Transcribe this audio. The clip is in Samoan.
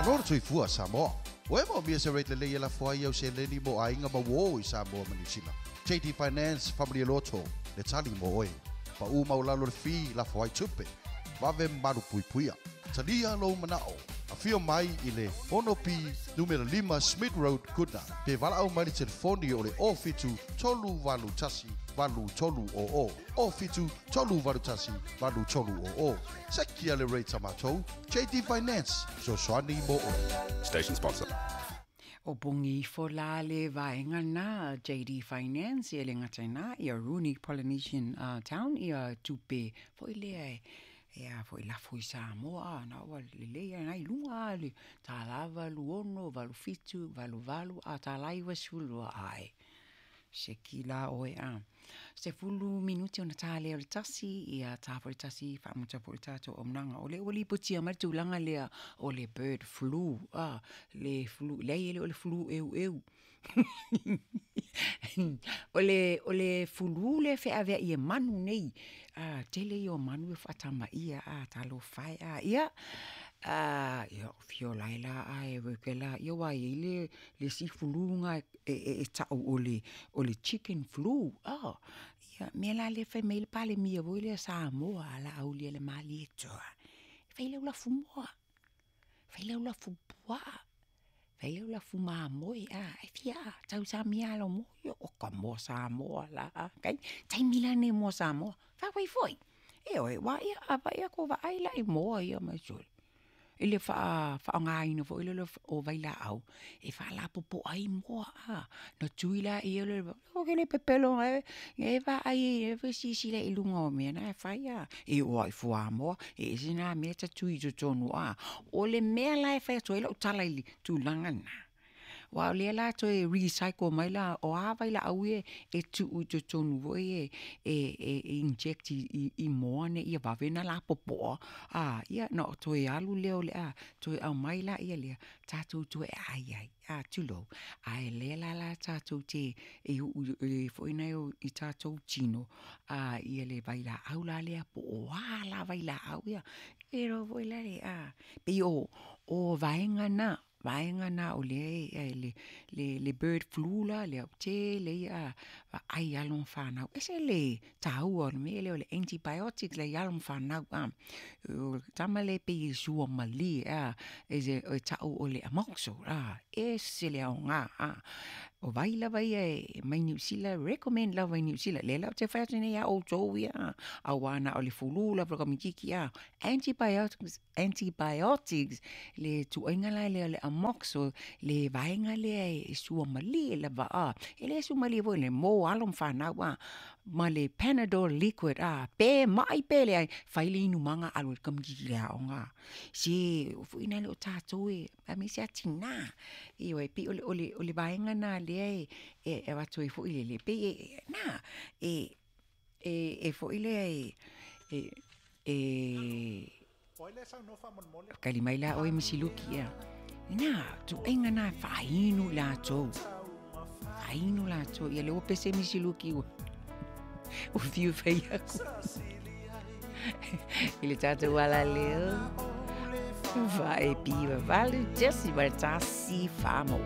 Malo le soifua Samoa. Ua e moomia se rate lelei e lafo ai au seleni mo aiga ma uō i Samoa ma Niu Sila? JD Finance Faamalie Loto le tali mo oe. Pa'u maualalo le fee lafo ai tupe. Vave malu puipuia. Talia lou mana'o. Afio mai i le 6B numera 5 Smith Road, Goodna, pe valaau mai le telefoni o le 07 381 8300, 07 381 8300. Sekia le rate a matou, JD Finance, fesoasoani mo oe. Station sponsor. O pogi ifo la le vaega na JD Finance ia le gata ina ia Rooney Polynesian Town ia tupe foi lea e E a foi lafo i Samoa a na ua lelei ai i luga a le tālā 86, 87, 88 a tālā 92 ae. Seki la oe a. 10 minuti ona tā lea o le tasi, ia tā foi le tasi faamuta foi le tātou auaunaga. O lea ua lipotia mai le tulaga lea o le bird flu, a, le flu, leai e le o le flu eueu. O le, o le fulu lea e feaveai e manu nei, a, tele ia o manu e faatamaia, a, talofa e, a, ia, a, ia fio la e la ae kela, ia aua e i ai le, le isi flu lena e tau o le, o le chicken flu, a, ia mea la lea e fai mai ai le Palemia foi lea a Samoa o le a aulia i le Malietoa, fai lau lafumoa, fai lau lafupuaa, Fai lau lafu mamoe a, e fia a, tausamia lava lau moa, io o ka moa Samoa la a, kai, taimi la lenei o moa Samoa, fai foi, ioe, aua ia a vaai atu o vaai la i moa ia ma sole, i le faaaogaina foi lea o vailaau e faalapopoa ai moa a. Ona tui lea o le ou te le pepelo e vaai e silasila i luga o mea na e fai a. E oo lava i fuamoa, e ese na mea e ta tui i totonu a. O le mea la e fai atu ai lau tala i le tulaga lena, aua o lea la e toe recycle mai la, o a vailaau ia e tuu i totonu foi ia e inject i moa nei ia vave ona lapopoa, a, ia ona toe alu lea o le a toe aumai laia lea, tatou toe aai ai, a, tulou. A o lea la la tatou te e uu foi lea i tatou tino ia le vailaau la lea po o a lava vailaau ia, e iloa foi la le, a, pei o vaega na, vaega na o lea e le bird flu la lea, tele ia vaai i alo ma fanau, e ese le taua o le mea lea o le antibiotics i alo ma fanau. O le tama lea e pei e suamalie a, e tau o le amoxil, a, ese le aoga, a. O vai lava ia e mai Niu Sila, recommend lava i Niu Sila. Lea la ou te fai atu nei ia outou ia, aua na o le fulu lava o le kamitiki, a. Antibiotics, antibiotics, le tuuaiga la lea o le amoxil, le vaega lea e suamalie lava, a. E le suamalie foi le mo alo ma fanau, a. Ma le panadol liquid, a. Pe mai pe leai, fai le inumaga alu ai le kamitiki i le aoga. Se foi lea o tatou e, aemaise lava tina. Ioe, pei o le, o le, o le vaega lena lea e, e avatu ai foi lele, pei e, na, e, e, e foi lea e, e, e, kali mai la oe Misi Luki, ia. Na, tuaiga na e faainu i latou. Faainu latou. Ia lea ua pese Misi Luki ua, ua fiu fai aku. I le tatou alaleo. Vae piva valu, 1.1 famo.